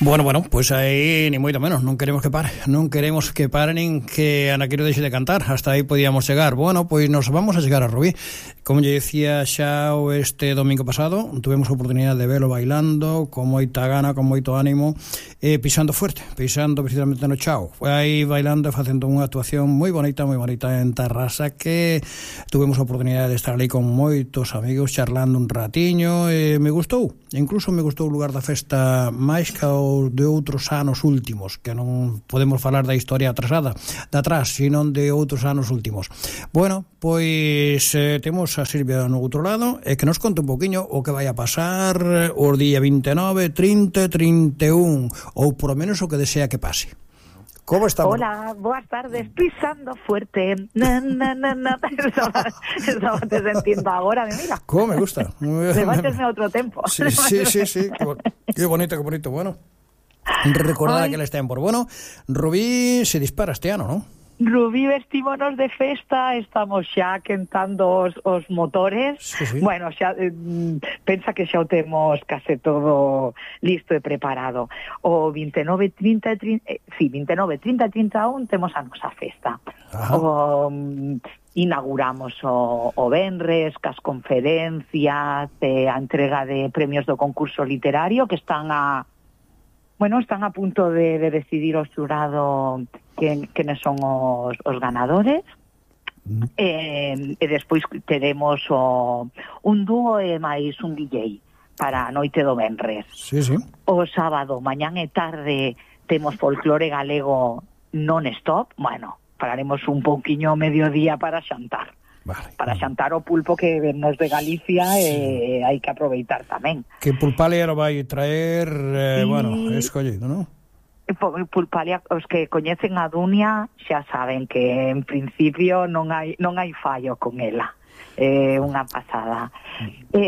Bueno, pois aí ni moito menos, non queremos que pare, nin que Anaquiro deixe de cantar, hasta aí podíamos chegar. Bueno, pois nos vamos a chegar a Rubí. Como lle dicía xa este domingo pasado, tuvemos a oportunidade de velo bailando con moita gana, con moito ánimo, pisando fuerte, pisando precisamente no chao. Foi aí bailando e facendo unha actuación moi bonita en Tarrasa, que tuvemos a oportunidade de estar ali con moitos amigos charlando un ratiño, e me gustou, incluso me gustou o lugar da festa máis que o de outros anos últimos, que non podemos falar da historia atrasada de atrás, sino de outros anos últimos. Bueno, pois temos a Silvia no outro lado, e que nos conte un poquinho o que vai a pasar os día 29, 30, 31, ou por lo menos o que desea que pase. ¿Cómo estamos? Hola, boas tardes, pisando fuerte. Estaba te sentindo agora, mira. ¿Cómo me gusta? Debátesme outro tempo. Sí. Qué bonito. Bueno, recordad aquel tiempos. Bueno, Rubí se dispara este ano, ¿no? Rubí, vestímonos de festa, estamos xa quentando os motores. Sí. Bueno, xa pensa que xa o temos case todo listo e preparado. O 29, 30, 31 temos a nosa festa. Inauguramos o venres, cas conferencias, a entrega de premios do concurso literario que están a punto de decidir o xurado quenes son os ganadores. E despois teremos un dúo e máis un DJ para a noite do venres. Sí. O sábado, mañán e tarde, temos folclore galego non-stop. Bueno, pararemos un pouquiño ao mediodía para xantar. Vale. Para xantar o pulpo que vennos de Galicia, e hai que aproveitar tamén. Que pulpalia lo vai traer, escollido, non? Pulpalia, os que coñecen a Dunia xa saben que en principio non hai fallo con ela. Unha pasada.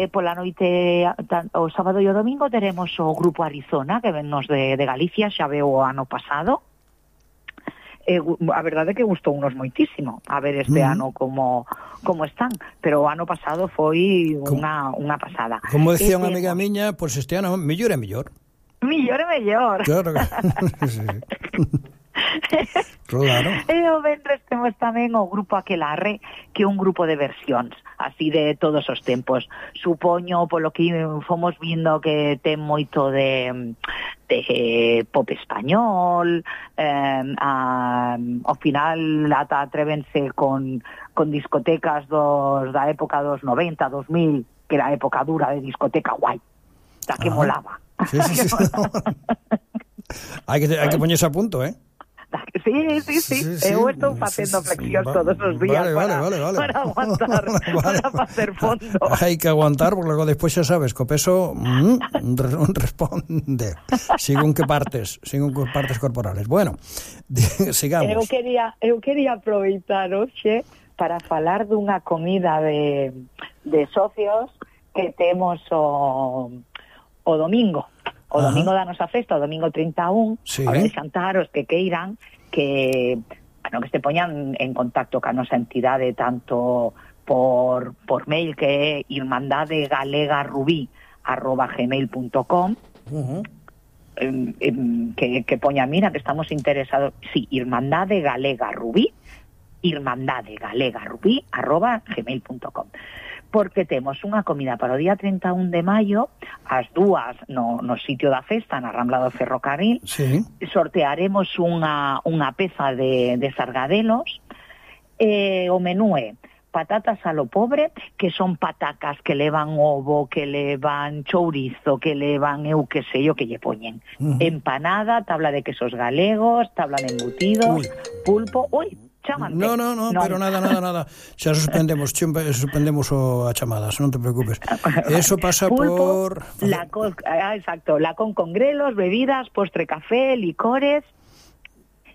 Pola noite, o sábado e o domingo, teremos o grupo Arizona, que vennos de Galicia, xa veo o ano pasado. A verdade é que gustou unos moitísimo a ver este ano como están, pero o ano pasado foi unha pasada. Como decía unha amiga miña, pois este ano mellor é mellor. Claro. Sí. Claro. E o venres temos tamén o grupo Aquelarre, que é un grupo de versións así de todos os tempos. Supoño, polo que fomos vindo, que ten moito de pop español, ao final ata atrévense con discotecas da época dos 90, 2000, que era a época dura de discoteca guai, da que molaba. Sí. Hai que poñerse a punto, Sí. Eu estou facendo flexións todos os días para aguantar, para facer fondo. Hai que aguantar, porque logo despois xa sabes que o peso responde según que partes corporales. Bueno, sigamos. Eu quería aproveitar hoxe para falar dunha comida de socios que temos o domingo. O domingo da nosa festa, o domingo 31, sí. A ver, xantar os que queiran, que se poñan en contacto ca nosa entidade, tanto por mail, que é irmandadegalegarubí@gmail.com, que poña, mira, que estamos interesados, sí, irmandadegalegarubí@gmail.com, porque temos unha comida para o día 31 de maio, ás 2 no sitio da festa, na Rambla do Ferrocarril. Sí. Sortearemos unha peza de sargadelos. O menú é patatas a lo pobre, que son patacas que levan ovo, que levan chourizo, que levan eu que sei o que lle poñen. Empanada, tabla de quesos galegos, tabla de embutidos, pulpo. Chámate. No, pero nada. Xa suspendemos a chamadas, non te preocupes. Eso pasa pulpo, por... exacto, lacón con grelos, bebidas, postre, café, licores,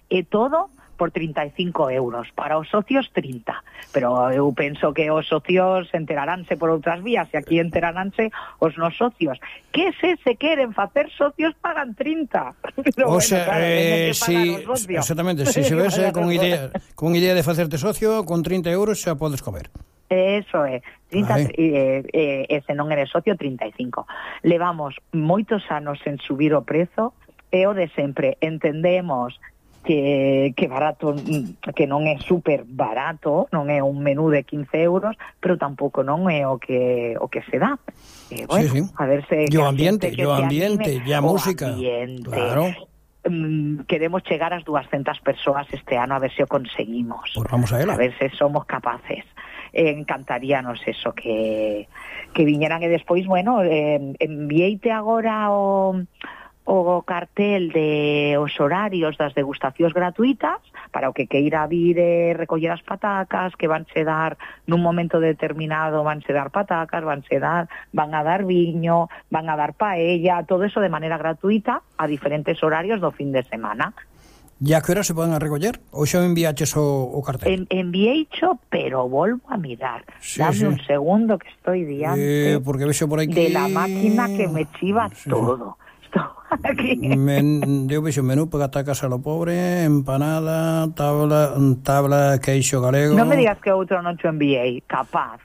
e todo por 35 euros. Para os socios, 30. Pero eu penso que os socios enteraránse por outras vías, e aquí enteraránse os nos socios. Que se queren facer socios, pagan 30. O sea, sí, exactamente. Si se ves con idea de facerte socio, con 30 euros xa podes comer. Eso é, 30, se non eres socio, 35. Levamos moitos anos en subir o prezo, é o de sempre. Entendemos que barato, que non é super barato, non é un menú de 15 euros, pero tampouco non é o que se dá. Bueno, sí. A ver se... E o ambiente, e a música. Ambiente. Claro. Queremos chegar ás 200 persoas este ano, a ver se o conseguimos. Pues vamos a ela. A ver se somos capaces. Encantaríanos eso, que viñeran, e despois, bueno, envieite agora o cartel de os horarios das degustacións gratuitas para o que queira vir recoller as patacas, que vanse dar nun momento determinado, vanse dar patacas, van a dar viño, van a dar paella, todo eso de maneira gratuita a diferentes horarios do fin de semana. E a que hora se poden recoller? Ou xa enviaches o cartel? Envieicho, pero volvo a mirar. Sí, Dame un segundo que estoy diante porque vexo por aquí... de la máquina que me chiva todo. Aquí. Eu vexo menú para atacas a lo pobre, empanada, tabla, queixo galego... Non me digas que outro non te enviei, capaz.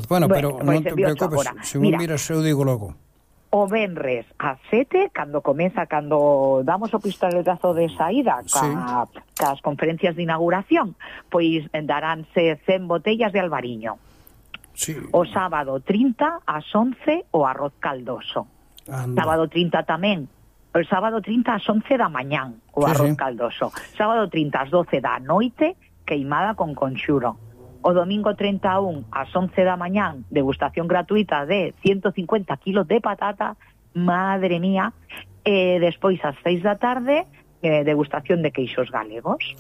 Bueno, pero non te preocupes, se me miras eu digo logo. O venres a 7, cando damos o pistoletazo de saída cas conferencias de inauguración, pois daránse 100 botellas de albariño. Sí. O sábado 30 ás 11 o arroz caldoso. Anda. Sábado 30 tamén. O sábado 30 ás 11 da mañán o arroz caldoso. Sábado 30 ás 12 da noite, queimada con conxuro. O domingo 31 ás 11 da mañán, degustación gratuita de 150 kilos de patata, madre mía, e despois ás 6 da tarde, degustación de queixos galegos.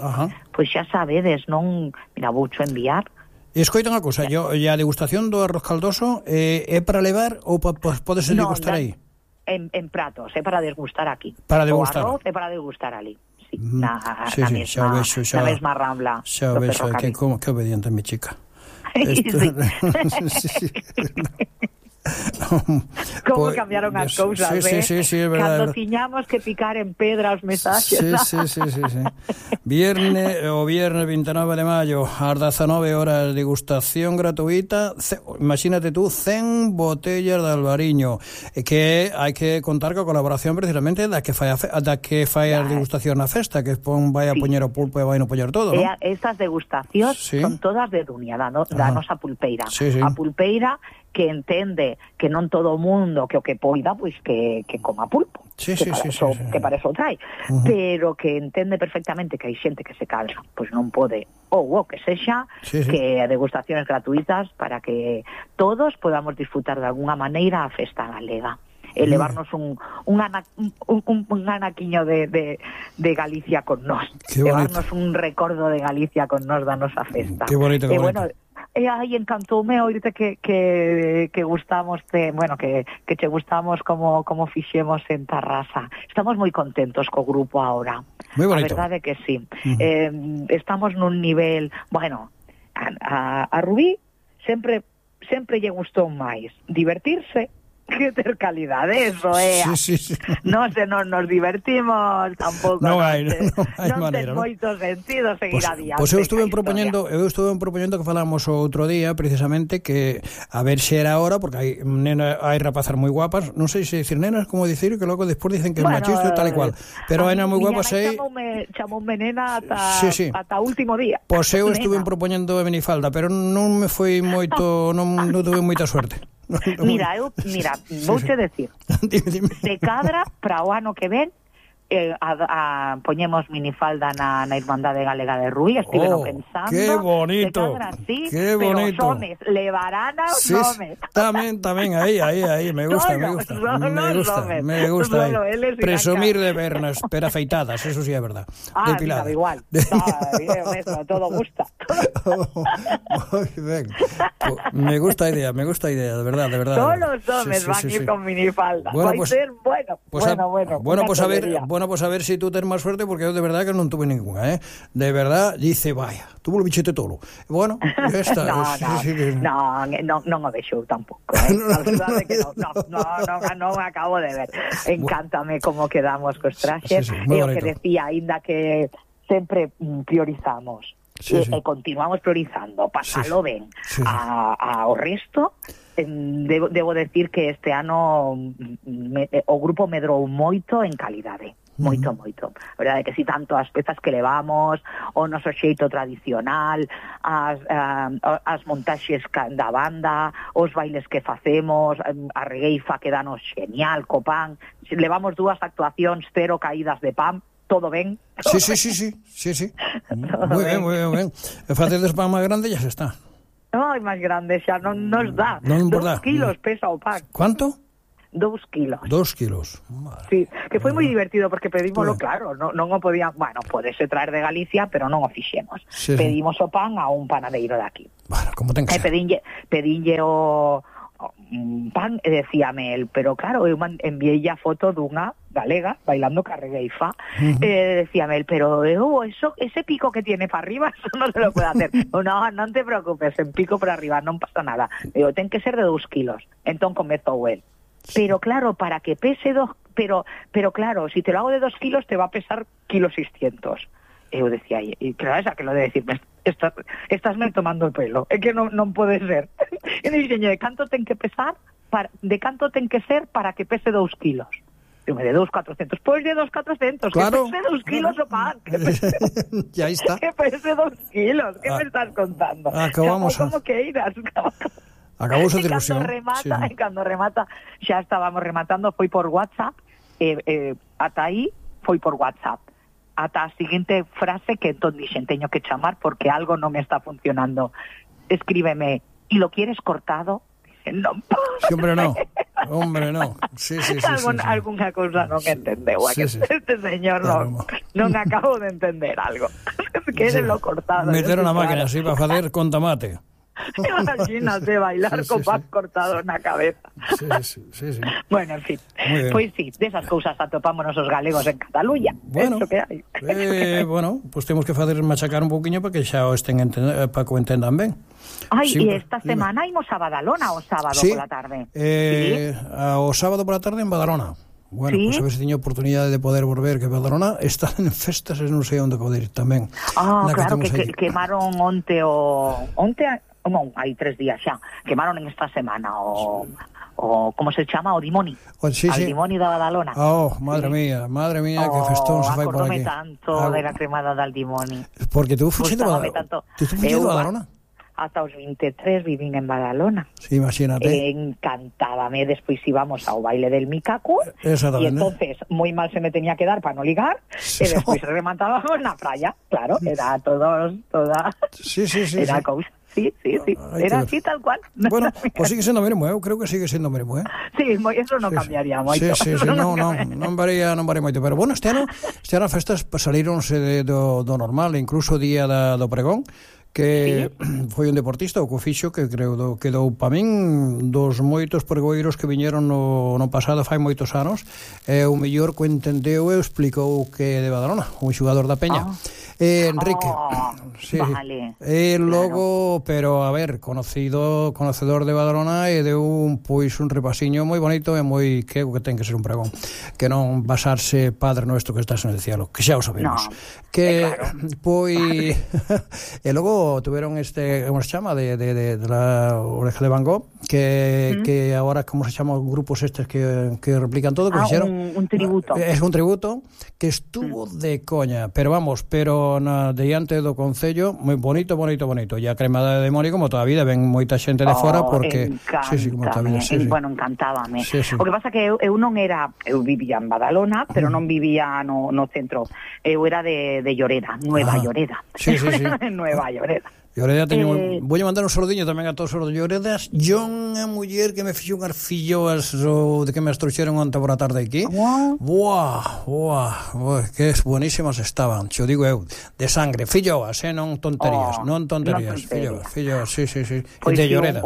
Pois xa sabedes, non... Mira, voucho enviar. Escoita unha cousa, e a degustación do arroz caldoso é para levar ou podes degustar aí? En pratos, é para degustar aquí. Para degustar. O arroz é para degustar ali. Sí, na mesma rambla. Xa o vexo, que obediente mi chica. Como cambiaron as cousas, sí, é verdade. Cando tiñamos que picar en pedra os mensaxes. Sí. O viernes 29 de maio ás 19 horas, degustación gratuita, imagínate tú, 100 botellas de albariño, que hai que contar coa colaboración precisamente da que fai a degustación na festa, que vai a poñer o pulpo e vai no poñer todo, non? Estas degustacións son todas de Dunia, da nosa pulpeira. A pulpeira que entende que non todo o mundo que o que poida, pois que coma pulpo, que para eso trai, pero que entende perfectamente que hai xente que se cansa, pois non pode, ou que sexa, que a degustacións gratuitas para que todos podamos disfrutar de alguna maneira a festa galega. Elevarnos un anaquiño de Galicia con nós, levarnos un recordo de Galicia con nós da nosa festa. Que bonito, bueno, encantoume oírte que gustamos que che gustamos como fixemos en Tarrasa. Estamos moi contentos co grupo agora. Moi bonito. A verdade que sí. Estamos nun nivel, bueno, a Rubí sempre lle gustou máis divertirse que ter calidade, eso é. Sí. Non se nos divertimos tampouco. Non hai ten maneira, moito sentido seguir adiante. Pois eu estuve propoñendo que falamos o outro día precisamente que a ver se era hora, porque hai rapazas moi guapas, non sei se dicir nenas, como dicir, que logo despois dicen que é machista tal e cual, pero hai nenas moi guapas aí. Chamoume nena ata o último día. Pois eu estuve propoñendo a minifalda, pero non me foi moito, non tuve moita suerte. Mira, vouche decir, dime. se cadra para o ano que ven, poñemos minifalda na Irmandade Galega de Rui, estiveno pensando. ¡Qué bonito! Se cadra así, ¡Qué pero bonito! os homes levarán aos homes. Tamén, aí, me gusta. Me gusta. Presumir de vernas, pero afeitadas, eso sí é verdad. Mira, igual. Todo gusta. Moi ben. Me gusta a idea, de verdad. Todos os homes van ir con minifalda. Vai ser bueno. Bueno, pues a ver si tú tens máis suerte, porque eu de verdad que non tuve ninguna, De verdad, dice, vaya, tuvo o bichete tolo. Bueno, ya está. Non o vexo tampouco, A verdade que non acabo de ver. Encántame como quedamos cos traxes. E o que decía, aínda que sempre priorizamos continuamos priorizando pasalo ben ao resto. Debo decir que este ano o grupo medrou moito en calidade. Moito. A verdade é que si tanto as pezas que levamos, o noso xeito tradicional, as montaxes da banda, os bailes que facemos, a regueifa que danos genial, co pan. Levamos 2 actuacións, 0 caídas de pan, todo ben. Sí. Moi ben. E facedes pan máis grande ya se está. Ai, máis grande xa non nos dá. 2 kilos pesa o pan. ¿Cuánto? 2 kilos. 2 kilos. Madre. Sí, que foi moi divertido porque pedímoslo, claro, non o podían, bueno, podese traer de Galicia, pero non o fixemos. Pedimos o pan a un panadeiro de aquí. Bueno, como ten que ser. Pedinlle o pan e decíame el, pero claro, eu enviei a foto dunha galega bailando carregueifa, decíame el, pero ese pico que tiene para arriba, eso no se lo puede hacer. No te preocupes, en pico para arriba non pasa nada. Digo, ten que ser de 2 kilos. Entón comezou el. Pero claro, para que pese 2, pero claro, si te lo hago de 2 kilos te va a pesar 1,6 kg. Eu decía, y claro, esa que lo de decirme, estás me tomando el pelo, é que non pode ser. E dixen, de canto ten que pesar, de canto ten que ser para que pese 2 kilos. Eu me de 2,400, pois de 2,400, claro, que pese 2 kilos o pan. Ya está. Que pese 2 kilos, que me estás contando? Acabamos como que irás. Acabou a ilusión. Cando remata, xa estábamos rematando, foi por WhatsApp, ata aí foi por WhatsApp. Ata a seguinte frase que entón dixen, teño que chamar porque algo non me está funcionando. Escríbeme, ¿y lo quieres cortado? Dicen, non. Sí, hombre, no. Sí. Alguna cousa non entendeu. Este señor non acabo de entender algo. Quérenlo cortado. Meter unha máquina así para facer con tomate. Imagínate bailar con pan cortado na cabeza. Sí. Bueno, en fin, pois sí, desas cousas atopámonos os galegos en Cataluña. Bueno, eso que hai. Bueno, pues temos que facer machacar un pouquiño para que xa o para que o entendan ben. Ai, sí, e esta semana imos a Badalona o sábado pola tarde. O sábado pola tarde en Badalona. Bueno, ¿sí? Pues a ver se teño oportunidade de poder volver, que Badalona está en festas e non sei onde poder ir tamén. Claro, que quemaron onte non, hai 3 días xa, quemaron en esta semana o como se chama, o Dimoni. Dimoni da Badalona. Madre mía, que festón se fai por aquí. Acordome tanto de la cremada del Dimoni. Porque tú fuiste a Badalona? Hasta os 23 vivín en Badalona. Sí, imagínate. Encantábame, despois íbamos ao baile del Mikaku, e entonces moi mal se me tenía que dar para no ligar, e despois rematábamos na playa, claro, era toda... Sí. Era cousa. Sí, era así tal cual. Bueno, pues sigue sendo mesmo, eu creo que sigue sendo mesmo, Sí, eso non cambiaría moito. Sí, non varía moito, pero bueno, este ano as festas salíronse do normal, incluso o día do pregón, que foi un deportista, o Cofixo, que creo que dou pa min dos moitos pregoeiros que viñeron no pasado fai moitos anos, o mellor que entendeu e explicou que de Badalona, un xogador da Peña. Enrique. Vale. Logo, pero a ver, conocedor de Badalona, e deu un repasiño moi bonito e moi que ten que ser un pregón, que non basarse Padre Nuestro que estás en el cielo, que xa o sabemos. E logo tuveron como se chama de la Oreja de Van Gogh, que ahora como se chama os grupos estes que replican todo, que fixeron un tributo. É un tributo que estuvo de coña, pero diante do Concello, moi bonito. E a cremada de Mori, como toda a vida, ven moita xente de fora, porque bueno, encantábame. O que pasa que eu non era, eu vivía en Badalona, pero non vivía no centro. Eu era de Lloreda, Nueva Lloreda. Sí. Nueva Lloreda. Lloreda voulle mandar un sordiño tamén a todos os de Lloredas. John, a muller que me fixo unhas filloas de que me as trouxeron onte por a tarde aquí. Que buenísimas estaban, xo digo eu, de sangre, filloas, non tonterías, filloas, sí. Pois de Lloreda.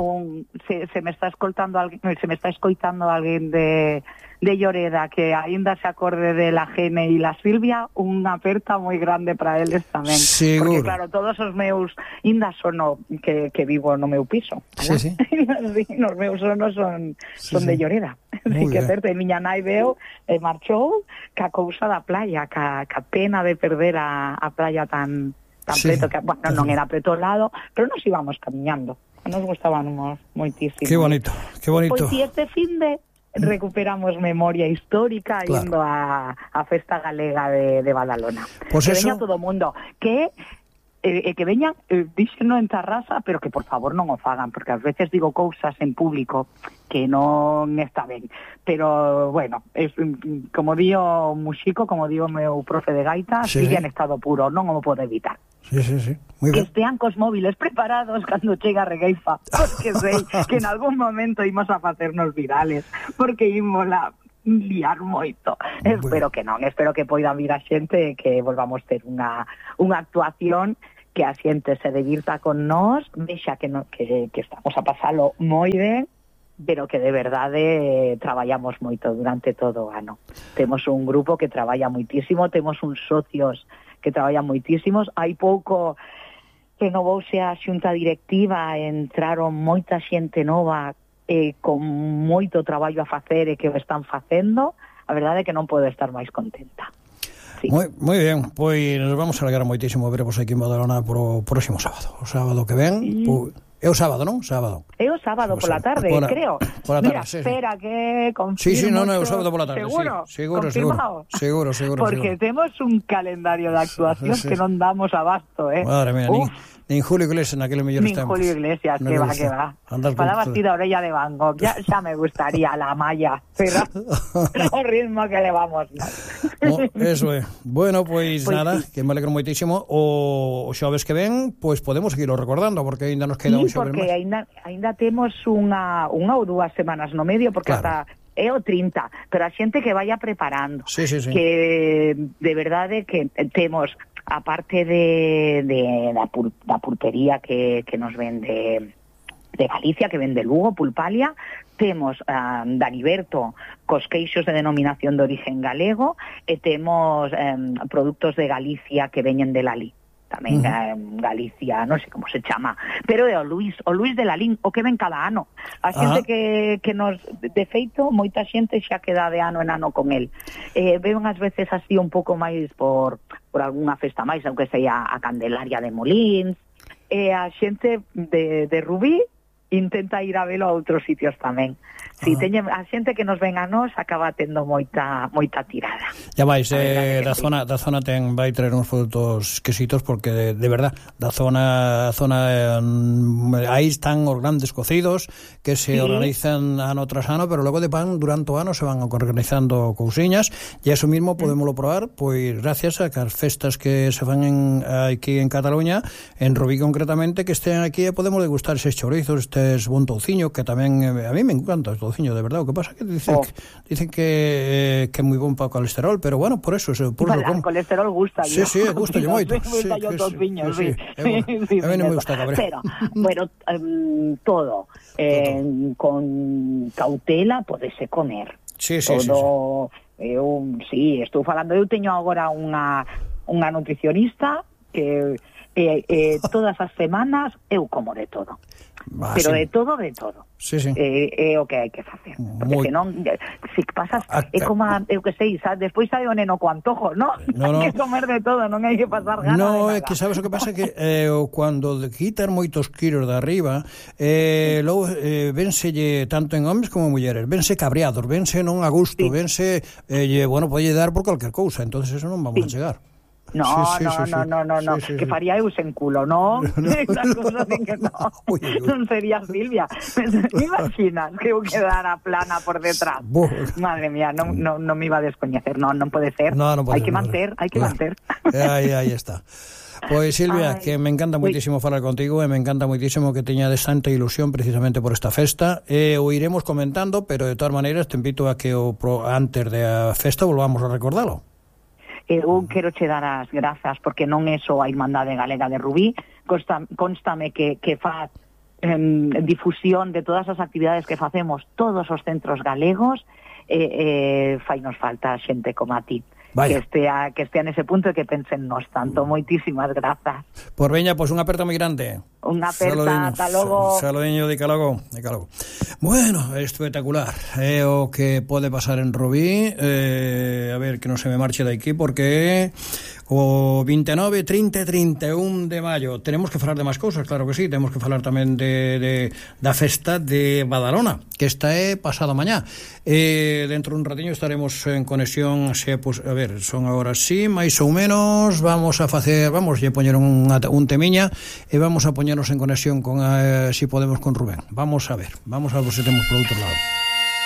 Se me está escoitando alguén de Lloreda que aínda se acorde de la Gene e la Silvia, unha aperta moi grande para eles tamén. Seguro. Porque claro, todos os meus inda sono que vivo no meu piso. Sí. Os meus sonos son de Lloreda. Así que certo, e miña nai veo marchou ca cousa da playa, ca pena de perder a playa tan tan preto que, bueno, non era preto ao lado, pero nos íbamos camiñando. Nos gustábamos moitísimo. Qué bonito, qué bonito. Pois si este finde recuperamos memoria histórica, claro, indo a Festa Galega de Badalona. Pues que eso... veña todo o mundo, que veñan, díxeno en Tarrasa, pero que por favor non o fagan, porque ás veces digo cousas en público que non está ben. Pero, bueno, es, como dio Muxico, como dio meu profe de gaita, sí, sigue en estado puro, non o pode evitar. Sí, sí, sí. Muy que bien. estean cos móviles preparados cando chega a Regueifa, porque sei que en algún momento imos a facernos virales, porque imos a liar moito. Bueno. Espero que poidan vir a xente e que volvamos ter unha actuación que a xente se divirta con nós, vexa que estamos a pasalo moi ben, pero que de verdade traballamos moito durante todo o ano. Temos un grupo que traballa moitísimo, temos uns socios que traballan moitísimos. Hai pouco renovouse a xunta directiva, entraron moita xente nova con moito traballo a facer e que o están facendo. A verdade é que non podo estar máis contenta. Sí. Moi ben, pois nos vamos a alegrar moitísimo vervos aquí en Badalona pro próximo sábado. O sábado que ven, é o sábado, non? Sábado. É o sábado pola tarde, creo. Pola tarde, mira, sí, espera que confirmo. Sí, non, é o sábado pola tarde. Seguro, sí, seguro. Porque temos un calendario de actuación que non damos abasto, Madre mía, nin Julio Iglesias naquele mellor estamos. Nin Julio Iglesias, que va. Falaba así da orella de Van Gogh, xa me gustaría la malla, pero o ritmo que levamos. Eso é. Bueno, pois nada, sí, que me alegro moitísimo. O xoves que ven, pois podemos seguirlo recordando, porque ainda nos queda un xoves máis. Sí, porque ainda temos unha ou dúas semanas no medio, porque claro, hasta é o 30, pero a xente que vaya preparando. Sí. Que de verdade que temos, aparte da pulpería que nos vende de Galicia, que vende Lugo, Pulpalia, temos Daniberto cos queixos de denominación de origen galego, e temos produtos de Galicia que veñen de Lalí. Tamén Galicia, non sei como se chama, pero é o Luis de Lalín, o que ven cada ano. A xente que nos, de feito, moita xente xa queda de ano en ano con el. Ven ás veces así un pouco máis por algunha festa máis, aunque sea a Candelaria de Molins, e a xente de Rubí intenta ir a velo a outros sitios tamén. Si teñen a xente que nos ven a nós acaba tendo moita tirada. Ya vais, da zona vai traer uns produtos exquisitos, porque de verdad, da zona aí están os grandes cocidos que se organizan ano tras ano, pero logo de pan durante o ano se van organizando cousiñas, e eso mismo podémoslo probar, pois gracias a que as festas que se fan aquí en Cataluña, en Rubí concretamente, que estén aquí e podemos degustar eses chorizos, estes bon touciño, que tamén a mí me encanta o touciño, de verdad. O que pasa é que dicen que é moi bon para o colesterol, pero bueno, por eso o colesterol gusta. Sí, gusta moito. Gusta yo touciño, sí. A mí non me gusta cabré. Pero, bueno, todo con cautela podese comer. Sí. Estou falando, eu teño agora unha nutricionista que todas as semanas eu como de todo. Pero de todo. Sí. É o que hai que facer. Porque senón, se pasas, é como, eu que sei, despois sai o neno co antojo, ¿no? Hai que comer de todo, non hai que pasar gana de nada. É que sabes o que pasa, que cando quitan moitos kilos de arriba, logo vénselle tanto en homes como en mulleres, vense cabreados, vense non a gusto, vense, bueno, pode dar por calquer cousa, entonces eso non vamos a chegar. No, que faría eu sen culo, non? Esas cosas en que non sería Silvia. Me imaginas que eu quedara plana por detrás? Madre mía, non me iba a descoñecer, non pode ser. Hai que manter. Aí está. Pois Silvia, que me encanta moitísimo falar contigo, e me encanta moitísimo que teñades tanta ilusión precisamente por esta festa, o iremos comentando, pero de todas maneiras te invito a que antes da festa volvamos a recordalo. Eu quero che dar as grazas, porque non é só a Irmandade Galega de Rubí, constame que faz difusión de todas as actividades que facemos todos os centros galegos, fainos falta xente como a ti. Que estea nese punto e que pensen nos tanto. Moitísimas grazas. Por veña, pois unha aperta moi grande. Unha aperta, ata logo. Saludiño de Calogo. Bueno, espectacular. É o que pode pasar en Rubí. A ver, que non se me marche de aquí, porque o 29, 30 e 31 de maio. Tenemos que falar de máis cousas, claro que sí. Temos que falar tamén da festa de Badalona, que esta é pasado mañá. Dentro dun ratiño estaremos en conexión, a ver, son agora sí, máis ou menos, vamos a poñer un temiña e vamos a poñernos en conexión con si podemos con Rubén. Vamos a ver se temos por outro lado.